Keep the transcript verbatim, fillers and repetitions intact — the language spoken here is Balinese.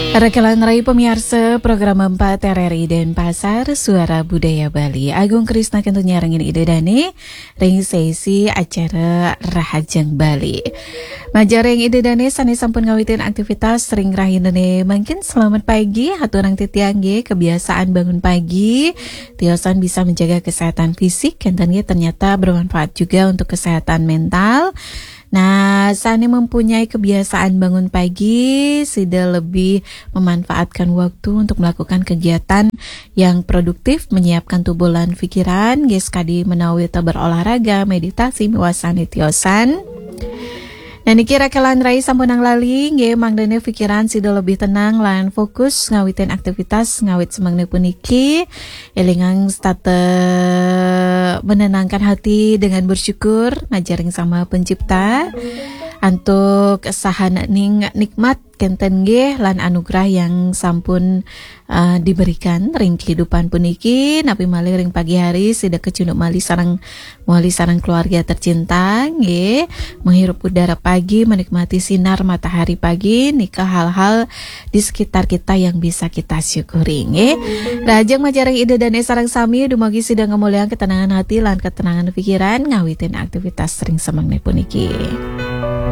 Rekelan rai pemiarsa program empat R R I Denpasar, Suara Budaya Bali. Agung Krisna kantun nyarengin Ida Dane ring sesi acara Rahajeng Bali. Majeng ring Ida Dane sane sampun ngawitin aktivitas ring rahinane mangkin, selamat pagi. Haturang titiang nggih, kebiasaan bangun pagi tiosan bisa menjaga kesehatan fisik, kenten nggih, ternyata bermanfaat juga untuk kesehatan mental. Nah, sane mempunyai kebiasaan bangun pagi, sida lebih memanfaatkan waktu untuk melakukan kegiatan yang produktif, menyiapkan tubuh lan pikiran, nggih, sakadi menawi ta berolahraga, meditasi, miwah sane tiosan. Nah, niki rekelan rai sampunang lali, nggih, mangdane pikiran sida lebih tenang lan fokus ngawitin aktivitas ngawit semengene puniki. Elingang setata menenangkan hati dengan bersyukur majeng ring Sang Maha Pencipta antuk sahaning nikmat kenten nggih lan anugerah yang sampun uh, diberikan ring kehidupan puniki, napi malih ring pagi hari sida kecunduk malih sareng, malih sareng keluarga tercinta nggih, menghirup udara pagi, menikmati sinar matahari pagi, nika hal-hal di sekitar kita yang bisa kita syukuri nggih. Rahajeng majeng ring Ida Dane sareng sami, dumugi sida ngamolihang ketenangan hati lan ketenangan pikiran ngawitin aktivitas ring semengene puniki.